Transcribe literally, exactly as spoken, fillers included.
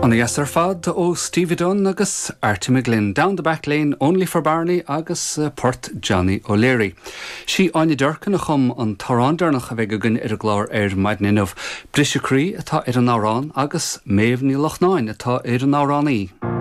Ana-dheas ar fad ó Stevie Dunne agus Artie McGlynn, Down the Back Lane, Only for Barney agus uh, Port Johnny O'Leary. Sí Áine Durkin a chum an t-amhrán deireanach a bheidh againn ar an gclár ar maidin inniu. Briseadh Croí atá ar an amhrán agus Méabh Ní Lochnáin atá ar an amhránaí.